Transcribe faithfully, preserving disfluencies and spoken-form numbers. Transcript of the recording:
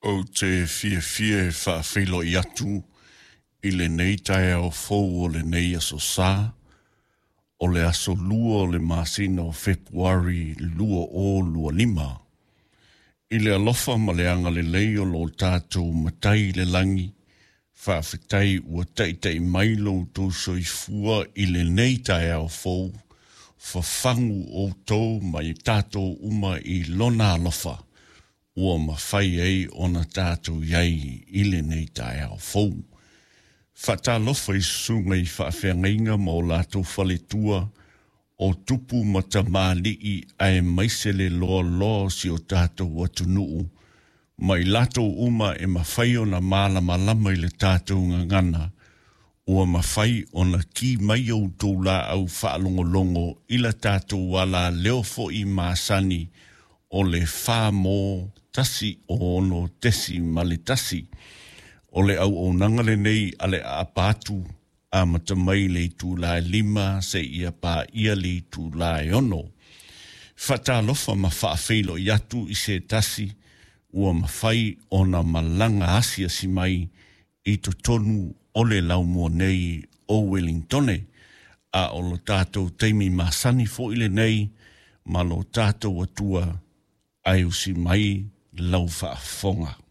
Ou te fiafia e faafeiloai atu i lenei taeao fou o lenei aso Sa, o le aso lua o le masina o Fepuari lua o lua lima. I le alofa ma le agalelei o lo tatou Matai i le lagi, faafetai ua taita'i mai lo outou soifua i lenei taeao fou, fafagu outou ma i tatou uma i lona alofa, ua mafai ai ona tatou i ai i lenei taeao fou. Faatalofa i susuga i faafeagaiga ma o latou faletua, o tupu ma tamalii aemaise le loaloa o si o tatou atunuu, ma i latou uma e mafai ona malamalama i le tatou gagana, ua mafai ona ki mai outou laau faalogologo i la tatou alaleo foi masani o le fa mo tasi o ono tesi ma le tasi. O le auaunaga lenei a le aapa atu amata mai le itula e lima seia paia le itula e ono. Faatalofa ma faafeiloai atu i se tasi ua mafai ona malaga asiasi mai i totonu o le laumua nei o Wellingtone. A o lo tatou taimi masani foi lenei ma lo tatou Atua ae usi mai lau faafofoga.